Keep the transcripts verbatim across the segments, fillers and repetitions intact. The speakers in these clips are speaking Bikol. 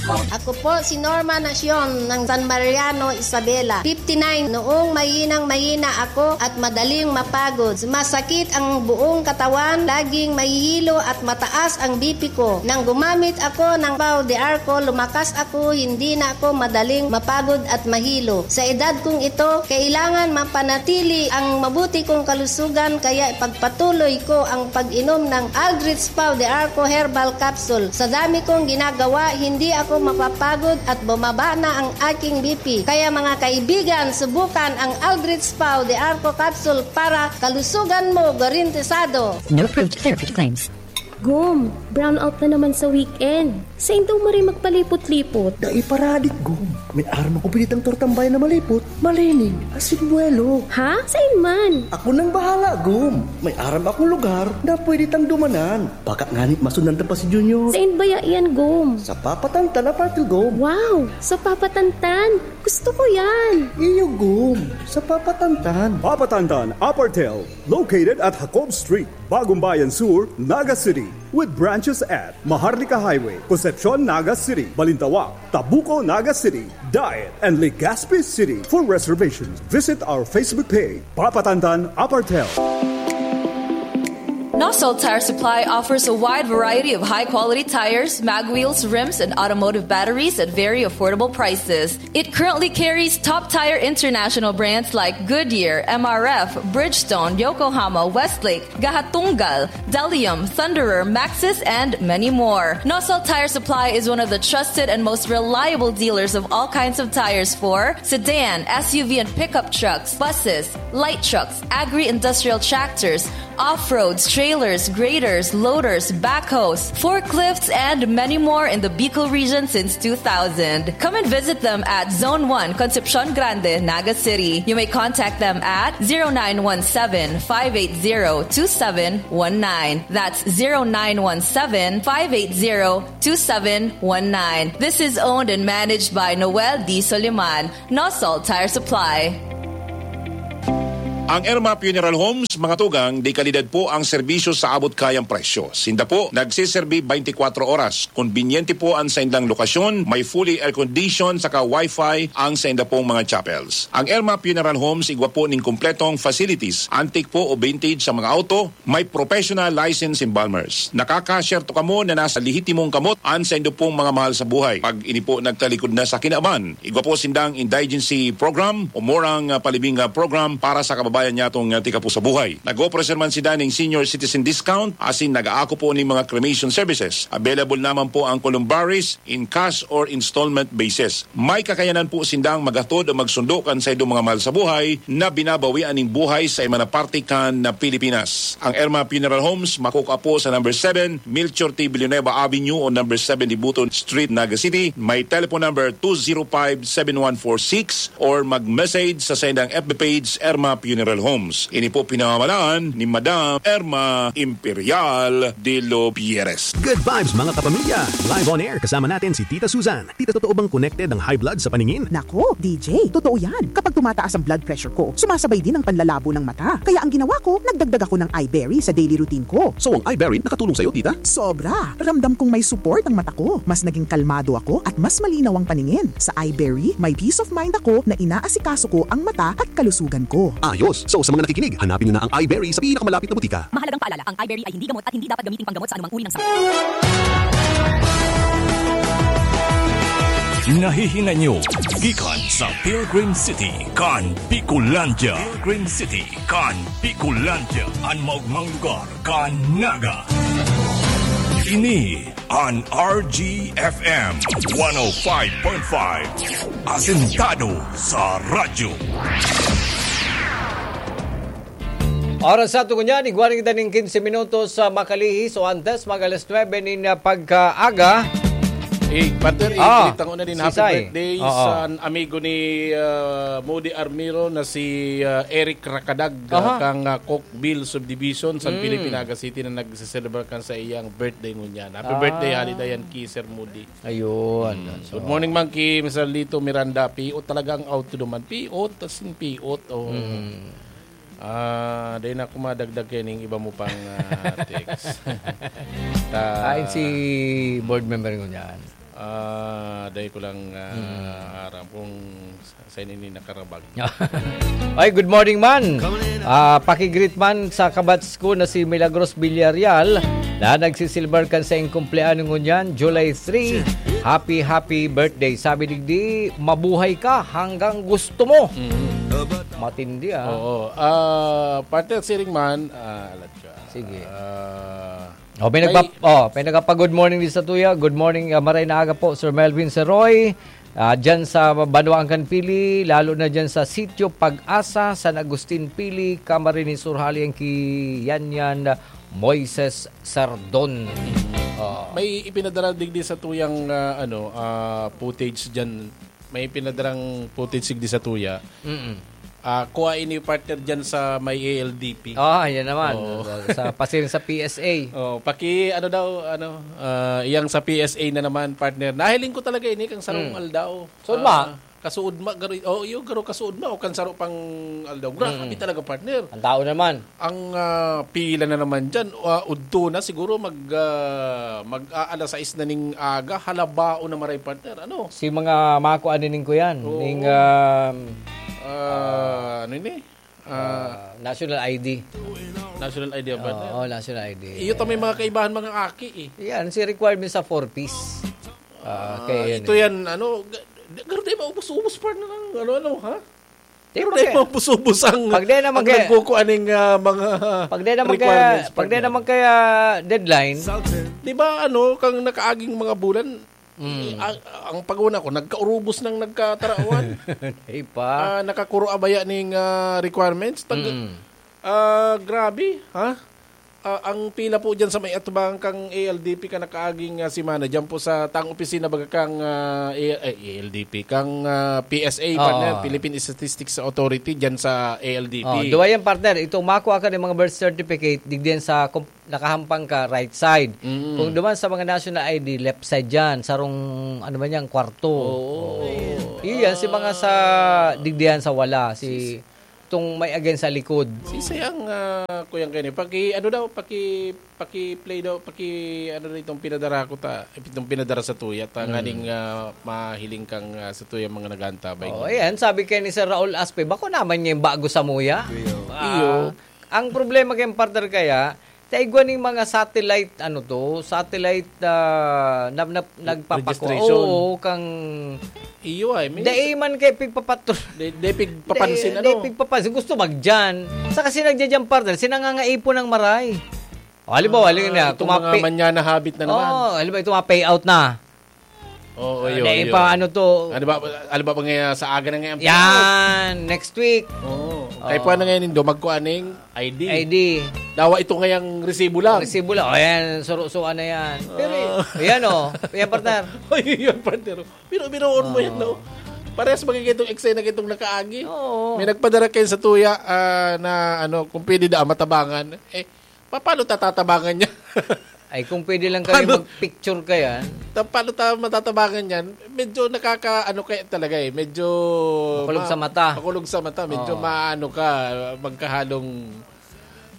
Ako po si Norma Nacion ng San Mariano, Isabela, fifty-nine. Noong mahinang-mahina ako at madaling mapagod, sumasakit ang buong katawan, laging mahihilo at mataas ang B P ko. Nang gumamit ako ng Pau de Arco, lumakas ako, hindi na ako madaling mapagod at mahilo. Sa edad kong ito, kailangan mapanatili ang mabuti kong kalusugan, kaya ipagpatuloy ko ang pag-inom ng Aldrich Pau de Arco Herbal Capsule. Sa dami kong ginagawa, hindi ako mapapagod at bumaba na ang aking B P. Kaya, mga kaibigan, subukan ang Aldrich Pau de Arco Capsule para kalusugan mo garantisado. No approved therapeutic claims. Gom, brownout na naman sa weekend. Sain daw maray magpalipot-lipot? Dai paradik, Gom. May aram akong pinitang tortang bayan na malipot, malinig, asin buwelo. Ha? Sain man? Ako nang bahala, Gom. May aram akong lugar na pwede tang dumanan. Baka ngani masundan ta pa si Junior. Sain baya iyan, Gom? Sa Papatantan, Apartel, Gom. Wow! Sa Papatantan? Gusto ko yan! Iyo, Gom. Sa Papatantan. Papatantan, Apartel. Located at Jacob Street, Bagumbayan Sur, Naga City, with branches at Maharlika Highway, Concepcion, Naga City, Balintawak, Tabuco, Naga City, Daet, and Legazpi City. For reservations, visit our Facebook page, Papatantan Apartel. Nosol Tire Supply offers a wide variety of high-quality tires, mag wheels, rims, and automotive batteries at very affordable prices. It currently carries top tire international brands like Goodyear, M R F, Bridgestone, Yokohama, Westlake, Gahatungal, Delium, Thunderer, Maxxis, and many more. Nosol Tire Supply is one of the trusted and most reliable dealers of all kinds of tires for sedan, S U V, and pickup trucks, buses, light trucks, agri-industrial tractors, off-roads, trailers, graders, loaders, backhoes, forklifts, and many more in the Bicol region since two thousand. Come and visit them at Zone one, Concepcion Grande, Naga City. You may contact them at zero nine one seven, five eight zero, two seven one nine. That's zero nine one seven, five eight zero, two seven one nine. This is owned and managed by Noel D. Soliman, Nosol Tire Supply. Ang Irma Funeral Homes, mga tugang, de kalidad po ang serbisyo sa abot kayang presyo. Sinda po nagseserbi twenty-four oras. Kombinyente po ang saindang lokasyon, may fully air-conditioned saka wifi ang sainda pong mga chapels. Ang Irma Funeral Homes, igwa po ning kompletong facilities, antique po o vintage sa mga auto, may professional license embalmers. Nakakasyerto kamo na nasa lehitimong kamot an saindo pong mga mahal sa buhay. Pag ini po nagtalikod na sa kinaban, igwa po sindang indigency program o murang, ah, palibing, ah, program para sa kababayan nyatong, ah, tika po sa buhay. Nag-offer man sinda ning senior citizen discount, asin nag-aako po ning mga cremation services. Available naman po ang columbaries in cash or installment basis. May kakayanan po sindang maghatod o magsundo kan saindong mga mahal sa buhay na binabawian nin buhay sa iba na parte kan na Pilipinas. Ang Irma Funeral Homes makukua po sa number seven, Melchor T. Villanueva Avenue o number seven, Dibuton Street, Naga City. May telephone number two zero five, seven one four six or mag-message sa saindang F B page, Irma Funeral Homes. Ini po pinamamalaan ni Madam Irma Imperial de los Pierres. Good vibes, mga kapamilya! Live on air, kasama natin si Tita Susan. Tita, totoo bang connected ang high blood sa paningin? Nako, D J, totoo yan. Kapag tumataas ang blood pressure ko, sumasabay din ang panlalabo ng mata. Kaya ang ginawa ko, nagdagdag ako ng Iberry sa daily routine ko. So, ang Iberry nakatulong sa'yo, tita? Sobra! Ramdam kong may support ang mata ko. Mas naging kalmado ako at mas malinaw ang paningin. Sa Iberry, may peace of mind ako na inaasikaso ko ang mata at kalusugan ko. Ayos! So, sa mga nakikinig, hanapin nyo na ang Iberry sa pinakamalapit na butika. Mahalagang paalala, ang Iberry ay hindi gamot at hindi dapat gamiting panggamot sa anumang uri ng sakit. Nahihinay nyo gikan sa Pilgrim City kan Bicolandia. Pilgrim City kan Bicolandia, an maogmang lugar kan Naga. Ini an R G F M one oh five point five, asentado sa radyo. Oras sa aton ngunyan, igwa na kita nin quince minutos sa makalihis o antes mag alas nuebe nin, ah, pagkaaga. Eh, partner, eh, Ah, balita ko na din, si happy Sai. birthday Oo. sa amigo ni, ah, Moody Armiro na si, ah, Eric Rakadag, ah, Aha. kang, ah, Coke Bill Subdivision, San Mm. Felipe, Naga City, na nagse-celebrate kan sa iyang birthday ngunyan. Happy Ah. birthday, Halidayan, ki Sir Moody. Ayun. Mm. So, Good morning, man, ki Mister Lito Miranda. Piot talaga ang auto duman. Piot, as in, piot. Oh. Mm. Ah, dahil na ako madagdag kayo ning iba mo pang, ah, text. Ta- Ay, si board member ko dyan. Ah, dai ko lang, ah, aram kung sa, sa ini nakarabag. Ay, good morning man. Ah, paki-greet man sa kabats ko na si Milagros Villarreal na nagsisilbar kan saiyang kumpleanyo ngunyan, July three. Happy, happy birthday. Sabi digdi, mabuhay ka hanggang gusto mo. Mm. Matindi, ah. Oo. Ah, partner, siring man, ah, alat ka. Sige. Ah, Oh, may may nagpa-, oh, may nagpa-good morning din sa tuya. Good morning, ah, maray na aga po, Sir Melvin Seroy. Ah, dyan sa Banwaan kan Pili, lalo na dyan sa Sitio Pag-asa, San Agustin Pili, Camarines Sur, hali ang ki Yanyan Moises Sardon. Oh. May ipinadara digdi sa tuyang, ah, ano, ah, footage dyan. May pinadarang footage digdi sa tuya. Mm-mm. Ah, kuha ini, partner, dyan sa may A L D P. Ah, yan naman. Oo. Sa, sa, pasiring sa P S A. Oh, paki, ano daw, ano, ah, iyang sa P S A na naman, partner. Nahiling ko talaga ini kang sarong Mm. aldaw. So, Ah, ma? Kasuod ma, garo, oh, iyo, garo kasuod ma, o kan saro pang aldaw. Grabe Mm. talaga, partner. Ang tao naman. Ang, ah, pila na naman dyan, ah, udto na siguro mag, ah, mag-aalas sais na ning aga, halabao na maray, partner, ano? Si mga mako anining ko yan, Oo. ning, um, Ah, ano ini? Ah, ah, national I D. National I D ba, partner? Oo, national I D. Iyo ta may mga kaibahan, mga aki, eh. Yan, si requirement sa four Ps. Ah, Ah, kaya yan, ito eh. yan, ano, ga-, ga-, garo tayo maubos-ubos, partner, ng ano-ano, ha? Di, Pero pag dahil kaya, mapusubos ang, pag dahil naman ang kaya, nagkukuan ning, ah, mga pag dahil naman kaya, requirements, pag dahil partner. naman kaya deadline. Di ba, ano, kang nakaaging mga bulan, Mm. eh, ang, ang pag-una ko, nagkaurubos ng nagkatarawan. Di pa. Ah, nakakuro abaya ning, ah, requirements. Tag-, Mm. ah, grabe, ha? Ah, ang pila po dyan sa may atubangan kang A L D P ka nakaaging, ah, semana, dyan po sa tang opisina baga kang, ah, A-, eh, A L D P, kang, ah, P S A, Oo. partner, Philippine Statistics Authority, dyan sa A L D P. Oh, duwa yan, partner. Itong makuha ka ng mga birth certificate, digdiyan sa kom-, nakahampang ka, right side. Mm. Kung duman sa mga national I D, left side dyan, sarong, ano man yan, kwarto. Oo. Oo. Iyan, si mga sa, digdiyan sa wala, si Itong may again sa likod. Sisay ang, ah, kuyang kayo ni? Paki, ano daw, paki, paki-play daw, paki, ano daw itong pinadara ko ta, itong pinadara sa tuya, ta Mm. nganing, ah, mahiling kang, ah, sa tuya mga nag-aantabay. Oh, ngayon. Ayan, sabi kay ni Sir Raul Aspe, bako naman niya yung bago sa muya. Iyo. Ah, Iyo. Ang problema kay partner kaya, Taigwa ning mga satellite, ano to, satellite, ah, na, na, nagpapako-, Registration. Oo, kang Iyo ay, may Dai man kay pigpapatro-, Di, di pigpapansin, dai, ano? Dai pigpapansin. Gusto magdiyan. Sa kasi nagdidiyan, partner, sinangangaipon ng maray. O, halimbawa, Ah, halimbawa na, itong kung mga mapi-, manyana habit na naman. Oo, halimbawa, itong mga payout na. Oo, Ah, yun, dahil yun. pa ano to? Ano ba, ano ba, ba ngayon, sa aga na ngayon? Yan, next week. Oo. Oo. Kaya pa na ngayon, Indo, magkuha ng I D. I D. Dawa ito ngayang resibo lang. Resibo lang. O, yan, surusuan na yan. Pero, Ah. yan, o. Yan, partner. Ay, yun, partner. Pero, biroon mo yan, Oo. no? Parehas magiging itong eksena kitong nakaagi. Oo. May nagpadara kayo sa tuya, ah, na, ano, kung pwede da, matabangan. Eh, Pa-, paano ta tatabangan niya? Ay, kung pwede lang kayo Paano? mag-picture ka yan. Ta-, paano ta matatabangan yan? Medyo nakaka-, ano kaya talaga eh, medyo Makulog ma-, sa mata. makulog sa mata, medyo Oo. maano ka, magkahalong,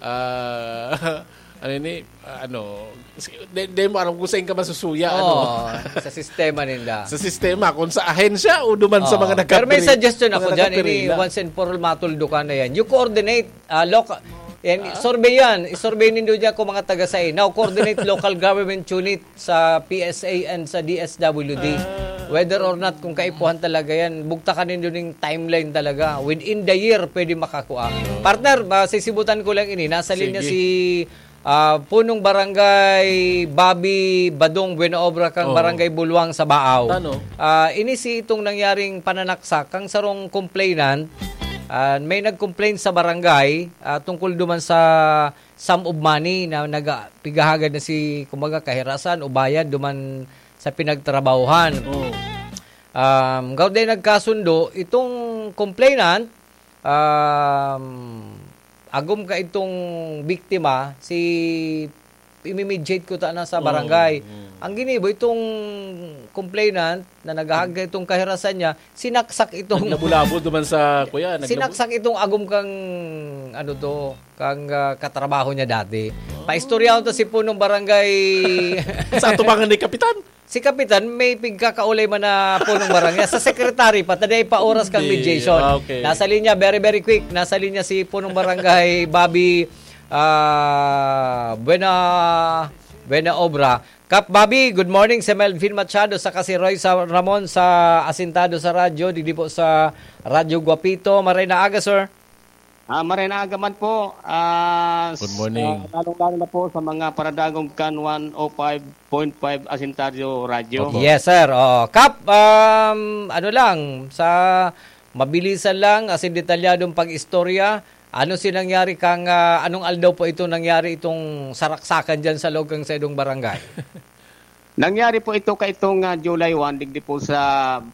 ah, ano ini, ano, si-, di, di mo alam kung saan ka masusuya, Oo, ano? sa sistema ninda. Sa sistema, kung sa ahensya o duman sa Oo. mga Pero may nagkapri-, suggestion mga ako dyan, ini nagkapirila. Once and for all, matuldukan na yan. You coordinate Ah, loka-, yan, Ah? survey yan. I-survey nindo dyan kung mga taga sain. Now, coordinate local government unit sa P S A and sa D S W D. Ah. Whether or not, kung kaipuhan talaga yan, bugtakan nindo ning timeline talaga. Within the year, pwede makakua. Partner, ba, sisibutan ko lang ini. Nasa linya Sige. si, ah, Punong Barangay Bobby Badong Buena Obra kang Oo. Barangay Bulwang sa Baao. Tano? Ah, ini si itong nangyaring pananaksak kang sarong complainant. Ah, may nag-complain sa barangay, ah, tungkol duman sa sum of money na naga-, pigahagad na si, kumbaga, kahirasan o bayad duman sa pinagtrabahuhan. Oo. Um, gawday nagkasundo, itong complainant, um, agom ka itong biktima, si imimediate ko ta na sa Oo, barangay. oo. Ang ginibo, itong complainant na naghahagad itong kahirasan niya, sinaksak itong Naglabo-labo duman sa, kuya, naglabo- sinaksak itong agom kang, ano to, kang, ah, katrabaho niya dati. Oh. Paistoryahon to si punong barangay. Sa atubangan ni Kapitan? Si Kapitan, may pigkakaulay man na punong barangay. Sa secretary pa, taday pa oras kang Hindi. mediation. Ah, okay. Nasa linya, very, very quick. Nasa linya si punong barangay Bobby, ah, Buena, Buena Obra. Kap Bobby, good morning. Si Melvin Machado, saka si Roy sa Ramon sa Asintado sa Radyo. Digdi po sa Radyo Guapito. Maray na aga, sir. Ah, maray na aga man po. Ah, Good morning. ah, lalong-lalo na po sa mga paradagong Kan one oh five point five Asintario Radyo. Opo. Yes, sir. Oo. Kap, um, ano lang, sa mabilisan lang, asin detalyadong pag-istorya, ano si nangyari kang, ah, anong aldaw po ito nangyari itong saraksakan dyan sa loob kang sa idong barangay? Nangyari po ito kaitong, ah, July one, digdi po sa,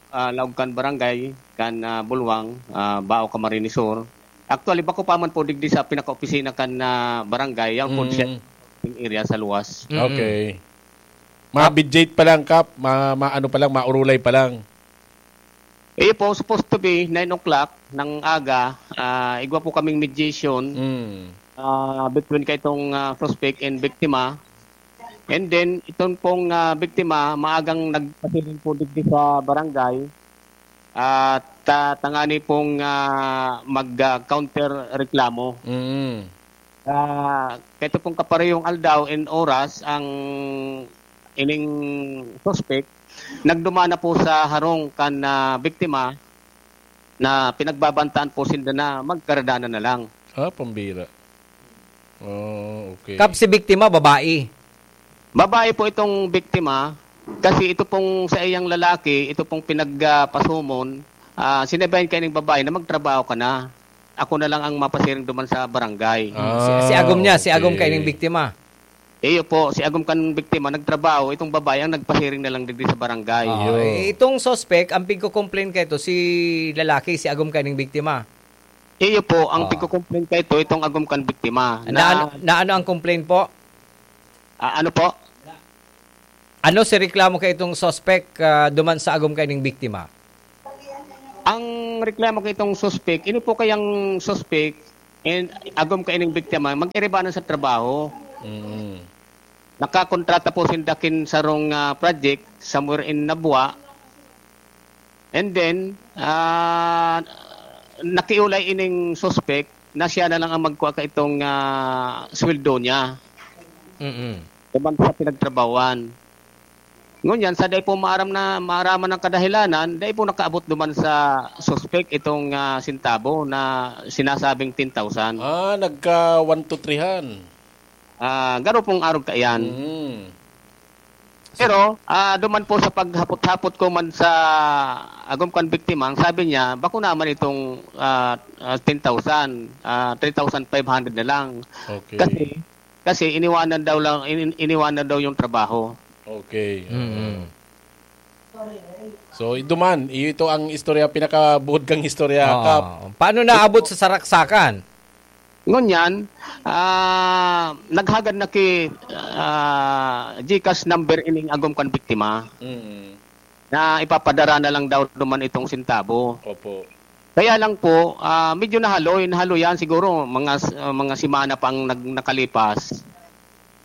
ah, laog kan barangay, kan, ah, Bulwang, ah, Bao, Camarines Sur. Actually, bako pa man po digdi sa pinaka-opisina kan, ah, barangay, yang po Mm. siya area sa luwas. Mm-mm. Okay. Mabidjate pa lang, Kap. Ma-, ma-, ano pa lang, maurulay pa lang. Iyo po, supposed to be nine o'clock ng aga, ah, igwa po kaming mediation, Mm. ah, between kaitong, ah, suspect and biktima. And then, itong pong, ah, biktima, maagang nagpasiring po digdi sa barangay. At, ah, tangani pong, ah, mag, ah, counter reklamo. Mm. Ah, kaito pong kaparehong aldaw and oras, ang ining suspect, nagduman na po sa harong kan, ah, biktima na pinagbabantaan po sinda na magkaradanan na lang. Ah, pambira. Oh, okay. Kap, si biktima, babae. Babae po itong biktima, kasi ito pong sa iyang lalaki, ito pong pinagpasumon, ah, sinabihan kayo ng babae na magtrabaho ka na. Ako na lang ang mapasiring duman sa barangay. Ah, Si, si agom niya, si agom okay. kayo ng biktima. Iyo po, si agom kan biktima nagtrabaho, itong babae ang nagpasiring na lang digdi sa barangay. Ah, Iyo. eh, itong suspect, ang pigko-complain kayo to, si lalaki, si agom kayo ng biktima. Iyo po, ang Ah. pigko-complain kayo to, itong agom kan biktima. Na, Na, ano, na ano ang complain po? Ah, ano po? Ano si reklamo kayo itong suspect, ah, duman sa agom kayo ng biktima? Ang reklamo kaitong suspek, ini po kayang suspek, and agom kaining biktima, mag-iribanan sa trabaho. Mm. Nakakontrata po sinda kin sarong, ah, project somewhere in Nabua. And then, ah, nakiulay ining suspek na siya na lang ang magkua kaitong, ah, sweldo niya. Mm. Duman sa pinagtrabahoan. Ngunyan, sa dai po maaram na, maaraman ang kadahilanan, dai po nakaabot duman sa suspek itong, ah, sintabo na sinasabing ten thousand. Ah, nagka one to three han. Ah, garo pong arog kaiyan. Mm. Pero, ah, duman po sa paghapot-hapot ko man sa agom kan biktima, ang sabi niya, bako naman itong, ah, ah, ten thousand, ah, three thousand five hundred na lang. Okay. Kasi, kasi iniwanan daw lang, in-, iniwanan daw yung trabaho. Okay. Mm. So, iduman, iyo ito ang istorya, pinakabuod kang istorya, Oo. Kap. Paano naabot sa saraksakan? Ngunyan, ah, naghagad na ki, ah, GCash number ining agom kan biktima Mm. na ipapadara na lang daw duman itong sintabo. Opo. Kaya lang po, ah, medyo nahaloy, nahaloyan siguro mga s-, ah, mga semana pang nag-, nakalipas.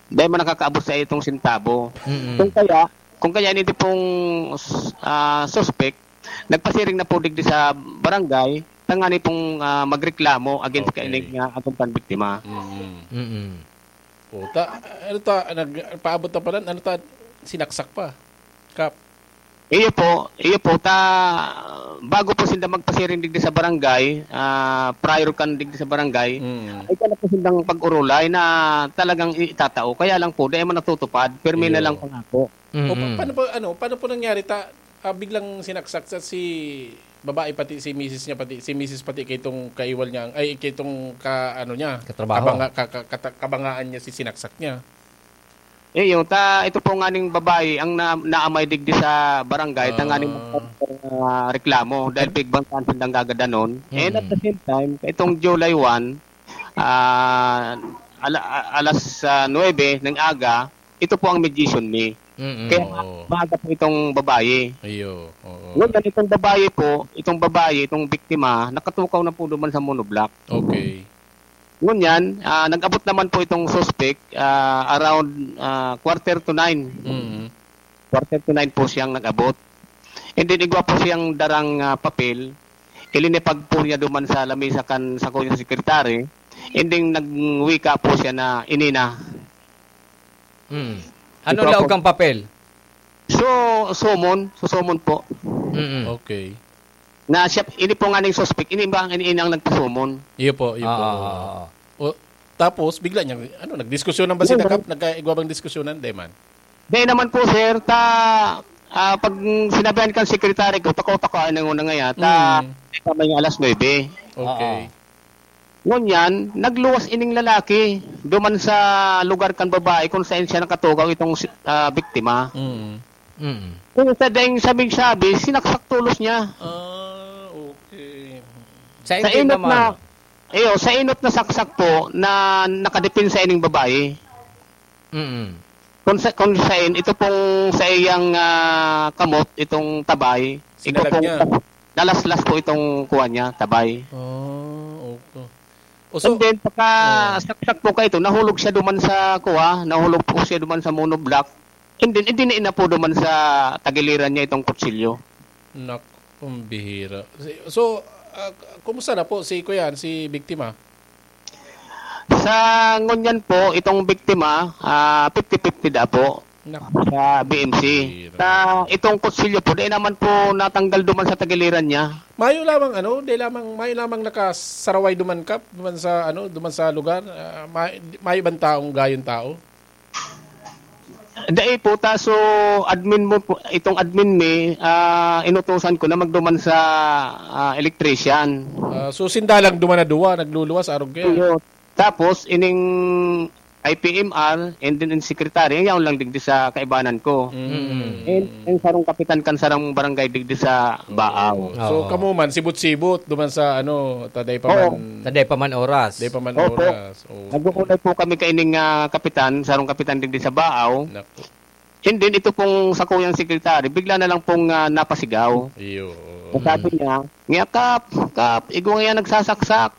Dahil man nakakaabot sa itong sintabo. Mm. Kung kaya, kung kaya ini pong, ah, suspek, nagpasiring na po digdi sa barangay, tangani pong, ah, magreklamo against Okay. kaining, ah, atong panbiktima. Mm. Mm. Puta, ano ta, nag-, paabot na pala, ano ta, sinaksak pa? Kap? Iyo po, iyo po, ta, bago po sinda magpasiring digdi sa barangay, ah, prior kan digdi sa barangay, Mm. ay ka na po sindang pag-urulay na talagang itatao. Kaya lang po, di man natutupad, pirmi na Iyo. lang pangako. O, pa-, Mm. paano po, ano, paano po nangyari ta, ah, biglang sinaksak sa si babae, pati si misis niya, pati si misis, pati kay itong kaiwal niya, ay, kay itong ka-, ano niya, Katrabaho. kabanga-, ka-, ka-, kata-, kabangaan niya, si sinaksak niya? Eh, yung ta-, ito po nga ning babae, ang na-, naamay digdi sa barangay, Ah. tanganing, ah, reklamo, dahil pigbantaan sindang gagadanon. And at Mm. the same time, itong July one, ah, ala-, a-, alas, ah, nuebe ng aga, ito po ang mediation mi. Mm-mm. Kaya Oo. maaga po itong babae. Iyo, oo. Ngunyan, itong babae po, itong babae, itong biktima, nakatukaw na po duman sa monoblock. Okay. Ngunyan, ah, nag-abot naman po itong suspect, ah, around, ah, quarter to nine. Mm. four thirty-nine po siyang nag-abot. And then, igwa po siyang darang, ah, papel. Ilinipag po niya duman sa lamesa kan sakuyang secretary. And then, nagwika po siya na, "Ini na." Mm. Ano Ito laog po. Kang papel? So, summon. So, summon po. Mm. Okay. Na siya, ini po nga ning suspect, ini ba ang ini ang nagpasumon? Iyo po, iyo po. Ah, ah, ah, ah. O, tapos, bigla niyang, ano, nagdiskusyonan ba Hindi, sila, hindi. Kap? Nagkaigwa bang diskusyonan? Di man. Di naman po, sir. Ta, ah, pag sinabihan kang secretary ko, tako-tako, ano nga nga yan. Ta, Mm. di pa may alas nuebe. Okay. Ngunyan, nagluwas ining lalaki duman sa lugar kan babae kung saan siya nakatugaw itong si- ah, biktima. Mm. Mm. Kung sa dahil sabing-sabi, sinaksak tulos niya. Ah, okay. Sa Sa inyo inot naman. na, iyo, sa inot na saksak po na nakadepensa ining babae. Mm. Kung sa kung sain, ito pong sa iyang ah, kamot, itong tabay, ito Sinalag pong niya. nalaslas po itong kuha niya, tabay. Ah, okay. O, so, And then, pagka Oh. saksak po ka ito, nahulog siya duman sa kuha, nahulog po siya duman sa monoblock. And then, idiniin na po duman sa tagiliran niya itong kutsilyo. Nak, ang bihira. Si- So, ah, kumusta na po si Kuya, si biktima? Sa ngunyan po, itong biktima, ah, fifty fifty da po Nak, sa B M C. Bihira. Sa itong kutsilyo po, di naman po natanggal duman sa tagiliran niya. mayo lamang ano, di lamang mayo lamang nakasaraway duman, Kap, duman sa ano, duman sa lugar. Ah, may, mayo bang taong gayon tao? Dai po, ta, so admin mo po, itong admin mi, ah, inutusan ko na magduman sa ah, electrician. Ah, so sinda lang duman na duwa, nagluluwas, arog kaya. Iyo. Tapos, ining I P M R, and then in secretary, yaon lang digdi sa kaibanan ko. Mm. And, and sarong kapitan kan sarang barangay digdi sa Baaw. So, Oo. Kamo man, sibot-sibot, duman sa ano, taday pa Oo. man, Taday pa man oras. taday pa man Opo. oras. Oh. Nag-uulay po kami kaining ah, kapitan, sarong kapitan digdi sa Baaw. Naku. And then, ito pong sakuyang secretary, bigla na lang pong ah, napasigaw. Iyo. Ang sabi niya, "Nga, Kap, Kap, igwa nga yan nagsasaksak."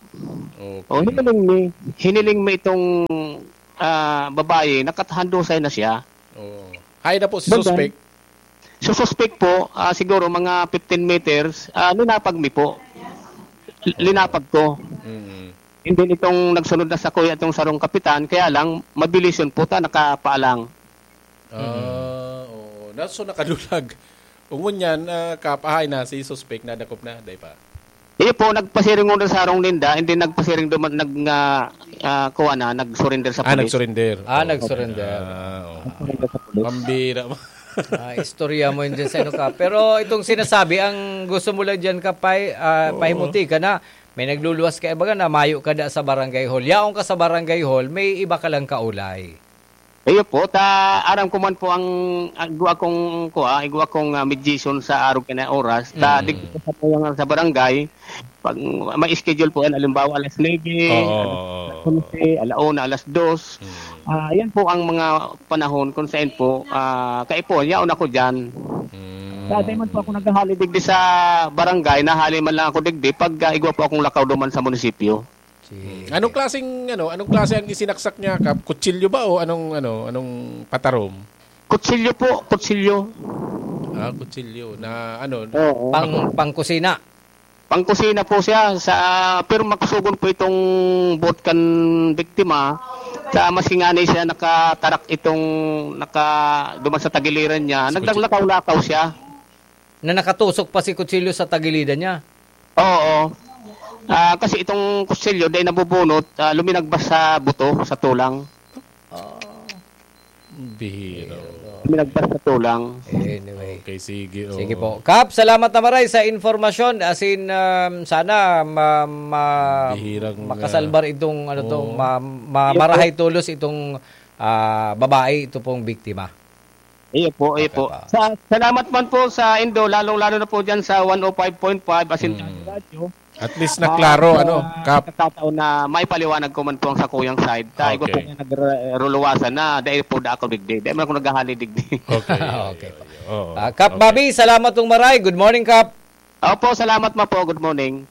Okay. O, hiniling mi, hiniling mi itong ah, babae, nakatahandusay na siya. Oh. Hay na po si Banda. Suspect. So, suspect po, ah, siguro mga fifteen meters, ah, linapag mi po. L- Linapag ko. Mm. And then, itong nagsunod na sa kuya, itong sarong kapitan, kaya lang, mabilis yun po, ta, nakapaalang. Ah, oo. Na, so nakadulag. Ungon yan, ah, Kap, ahay na, si suspect nadakop na, day pa. Iyo po, nagpasiring muna sa harong ninda, and then nagpasiring duman, nag, ah, ah, kuha na, nag-surrender sa Ah, police. nag-surrender. Ah, Oh. nag-surrender. Ah, oh. Surrender sa police. Pambira mo. Ah, istorya mo yun dyan sa ano ka. Pero itong sinasabi, ang gusto mo lang dyan ka, pay, ah, Oo. pahimuti ka na, may nagluluwas ka, ibaga na, mayo ka da sa barangay hall. Yaon ka sa barangay hall, may iba ka lang kaulay. Iyo po, ta aram ko man po ang, ang igwa kong kuha, igwa kong ah, mediation sa arog na oras. Ta Mm. digdi sa, sa barangay, pag may schedule po yan, halimbawa alas nuebe, Oo. alas onse, ala una, alas dos. Mm. Ah, yan po ang mga panahon kung saan po, ah, kaipo, yaon ako dyan. Mm. Dati man po ako naghahali digdi sa barangay, nahali man lang ako digdi pag ah, igwa po akong lakaw duman sa munisipyo. Sige. Anong klaseng, ano, anong klase ang isinaksak niya, Kap? Kutsilyo ba o anong, ano, anong patarom? Kutsilyo po, kutsilyo. Ah, kutsilyo na, ano, Oo. Pang, pang kusina. Pangkusina po siya, sa, pero makusugon po itong buot kan biktima. Sa mas ingani siya nakatarak itong naka, duman sa tagiliran niya. Sa Naglalakaw-lakaw siya. Na nakatusok pa si kutsilyo sa tagilidan niya. Oo. Ah, kasi itong kutsilyo, dahil nabubunot, ah, luminagbas sa buto, sa tulang. Bihira. Luminagbas sa tulang. Anyway. Okay, sige. Oh. Sige po. Kap, salamat na maray sa informasyon. As in, um, sana ma, ma, Bihirang, makasalbar itong ano to, Oo. ma, ma, marahay tulos itong ah, babae, ito pong biktima. Iyo po, iyo Okay po. pa. Sa, salamat man po sa Indo, lalong-lalo na po dyan sa one oh five point five, as in Mm. Radyo. At least na klaro, Ah, ano, sa Kap? pagkakataon na maipaliwanag ko man po ang sakuyang side. Ta, igwa po Okay. nga nagruluwasan na, dahil po da ako digdi. Dahil man ako naghahali digdi. Okay. Okay. Oo. Ah, Kap Okay. Bobby, salamat tong maray. Good morning, Kap. Opo, salamat ma po. Good morning.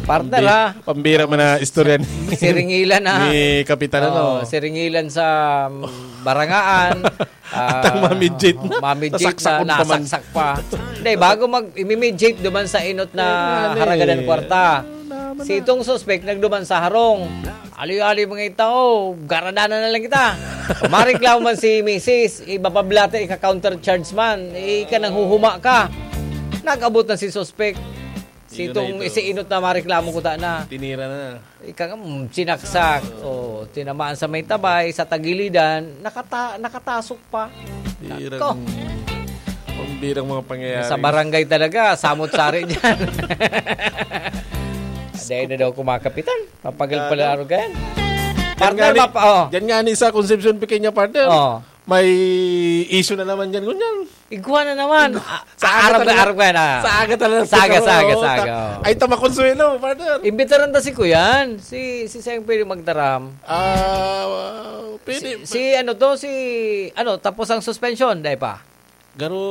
Partner, Pambi-, ha? pambira man na istorya ni, Siringilan, ha? ni Kapitan, Oo, ano? siringilan sa, um, barangaan. Atang Ah, mamidjit na. mamidjit Nasaksak na, ko pa man. nasaksak pa. Hindi, bago mag-, imimidjit duman sa inot na Ayun nga, eh. haragadan kwarta. Ano naman Si na? itong suspek nagduman sa harong. Ali-ali mga tao, garadanan na lang kita. Mareklamo man si misis, iba pa blate, ika-counter charge man, ika nanghuhuma ka. Nag-abot na si suspek. Si Yun na itong ito. si inot na mareklamo ko ta na. Tinira na. Ika nga, mm, sinaksak. Oh, tinamaan sa may tabay, sa tagilidan, nakata-, nakatasok pa. Tirang Nako. pambirang mga pangyayari. Sa barangay talaga, samot-sari dyan. Dahil na daw kumakapitan. Papagal pala Ano? araw ganyan. Diyan Partner, nga ni, mapa-, oh. diyan nga ni sa Concepcion Pequeña, partner. Oh. May issue na naman dyan, ngunyan. Igwa na naman. Igwa. Ah, Sa aga arog na, talaga. arog na. Sa aga talaga, Sa aga, siguro, sa aga, oo, sa aga, ta-, oo. ay, ta makonsuelo, partner. Imbitaran ta si Kuyan. Si, si Seng pwede magtaram. Ah, pwede. Si, si ano to, si, ano, tapos ang suspension, dai pa? Garo,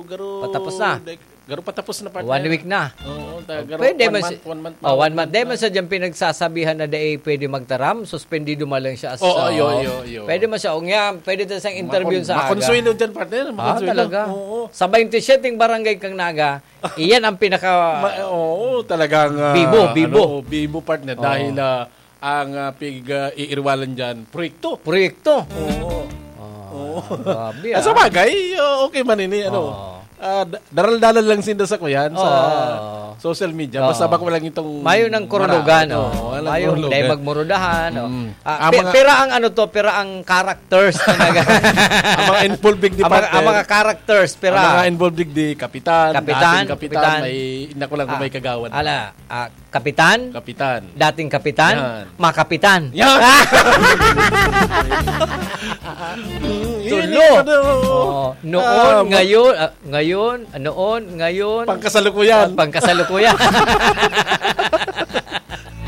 garo, Patapos na. dai-, garo patapos na, partner. One week na. Oo, ta-, garo, Pwede one man month, si-, one month na, oh, one one month. month Dai na. man sa dyan pinagsasabihan na dai pwede magtaram, suspendido man lang siya as, Oo, uh, yo, yo, yo. pwede man siya. O nga, pwede tayo siyang interview Makon-, sa aga. makonsuelo dyan, partner. Ah, Makonsuelo. talaga? Oo. Sa twenty-seven barangay kang Naga, iyan ang pinaka Ma-, oo, talagang, ah, Bibo, bibo. ano, bibo, partner. Oo. Dahil, ah, ang, ah, pig, ah, iirwalan dyan, proyekto. Proyekto? Oo. Ah, Oo. grabe, Ah, sa ah. bagay, ah, okay man ini, ano. Oo. Ah, da-, daral-daral lang sinda sa kuyan, sa Oo. social media. Oo. Basta bako lang itong Mayo ng kurulugan, maraot. oh. Oo, walang Mayo, kurulugan. dahil magmurudahan, oh. Mm. Ah, Ah, pi-, mga pira ang ano to, pira ang characters na nag- Ang mga involved digdi, Ang mga, partner. ang mga characters, pira. Ang mga involved digdi, kapitan, Kapitan, dating kapitan, kapitan. may, ina ko lang kung Ah, may kagawad. ala, ah, kapitan? Kapitan. Dating kapitan? Yan. Makapitan? Yan. Mm, Tulo. yun, yun, ano, oo. Oo. Noon, Ah, ma- ngayon, ah, Ngayon, noon, ngayon, Pangkasalukuyan. at pangkasalukuyan.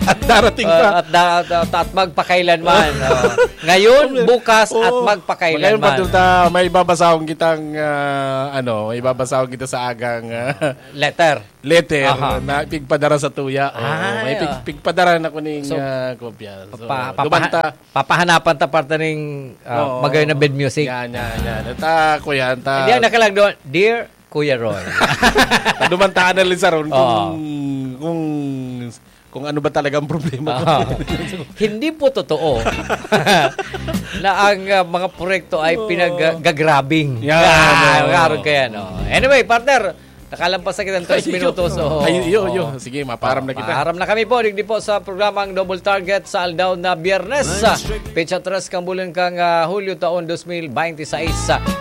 At darating pa. Ah, at da-, at, at, at magpakailanman, oh. Ngayon, Okay. bukas, at Oo. magpakailanman. Ngayon, Padre, ta, may babasahon kitang, ah, ano, may babasahon kita sa agang, ah, Letter. letter Aha. na pigpadara sa tuya. Oo, Ay, may pig-, ah. pigpadara na kuning, So, ah, kopya. So, pa-, papaha-, dumanta. papahanapan ta parte ning, ah, Oo. magayon na bed music. Yan, yan, yan. At, ah, kuya, ta- Hindi, ang nakalag doon, "Dear Kuya Roy." Paduman ta analisaron kung, Oo. kung, kung ano ba talaga ang problema ko. Oo. Hindi po totoo na ang, ah, mga proyekto ay Oo. pinag-, ah, gagrabing. Yan, Ah, oo. meron kaya, no? Anyway, partner, nakalampas na kitang tres Ay, iyo. minutos, oo. Ay, iyo, iyo. Oo. Sige, maparam na kita. Maparam na kami po, digdi po sa programang Double Target sa aldaw na Biyernes. Petsa tres kang bulan kang, ah, Hulyo taon dos mil bente seis.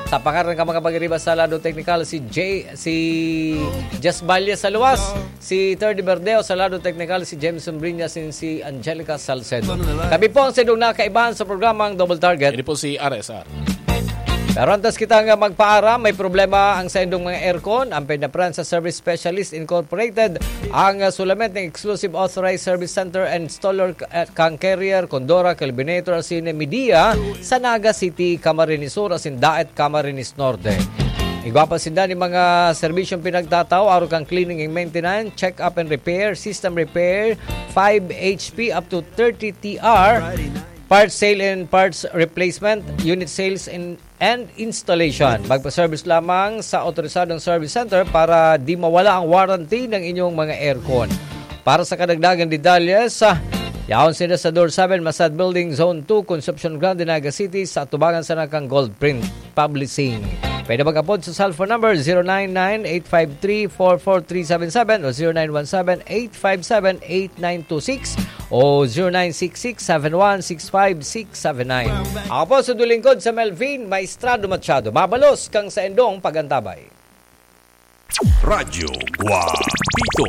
Sa pangaran kan mga pagiriba sa lado teknikal, si J-, si Jess Valle sa luwas, si Terdy Verdeo sa lado teknikal, si Jameson Briñas, and si Angelica Salcedo. Kami po ang sidong nakaibahan sa programang Double Target. Ini po si R S R. Pero antes kita nga magpaaram, may problema ang saindong mga aircon. Ang Peña Prensa Service Specialist Incorporated ang, ah, sulament ng exclusive authorized service center and installer k-, at kang Carrier, Condora, Kelvinator, Cine Media sa Naga City, Camarines Sur, asin Daet, Camarines Norte. Igwa pa sinda ni mga serbisyong pinagtatao, araw kang cleaning and maintenance, check up and repair, system repair, five H P up to thirty T R, parts sale and parts replacement, unit sales and, and installation. Magpa-service lamang sa otorisadong service center para di mawala ang warranty ng inyong mga aircon. Para sa kadagdagan detalye, sa yaon sila sa Door seven, Masad Building, Zone two, Concepcion Grande, Naga City, sa atubangan sa nakang Gold Print Publishing. Pwede mag-apod sa cellphone number zero nine nine eight five three four four three seven seven o zero nine one seven eight five seven eight nine two six o zero nine six six seven one six five six seven nine. Ako po sa dulingkod sa Melvin Maestrado Machado. Mabalos kang sa endong pagantabay. Radyo Guapito.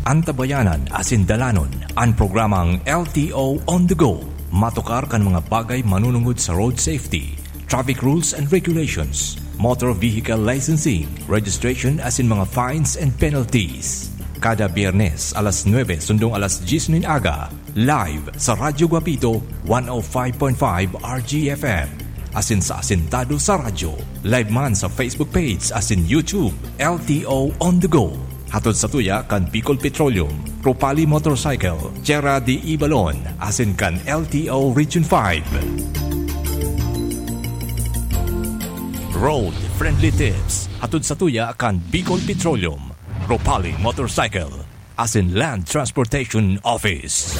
Antabayanan asin dalanon an programang L T O On The Go. Matukar kan mga bagay manunungod sa road safety, traffic rules and regulations, motor vehicle licensing, registration asin mga fines and penalties. Kada Biyernes, alas nuebe sundong alas dyes nin aga, live sa Radyo Guapito, one oh five point five R G F M. asin sa Asintado sa Radyo. Live man sa Facebook page asin YouTube, L T O On The Go. Hatod sa tuya kan Bicol Petroleum, Ropali Motorcycle, Tierra de Ibalon, asin kan L T O Region five. Road Friendly Tips, hatod sa tuya kan Bicol Petroleum, Ropali Motorcycle, asin Land Transportation Office.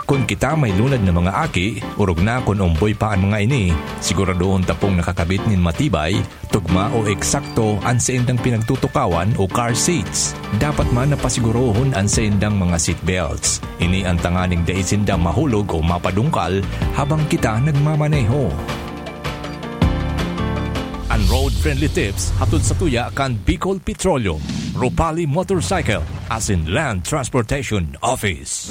Kun kita may lunad na mga aki, orog na kun omboy pa an mga ini, siguradohon ta pong nakakabit nin matibay, tugma o eksakto an saindang pinagtutukawan o car seats. Dapat man na pasigurohon an saindang mga seat belts. Ini an tanganing dai sinda mahulog o mapadungkal habang kita nagmamaneho. An Road Friendly Tips hatod sa tuya kan Bicol Petroleum, Ropali Motorcycle, asin Land Transportation Office.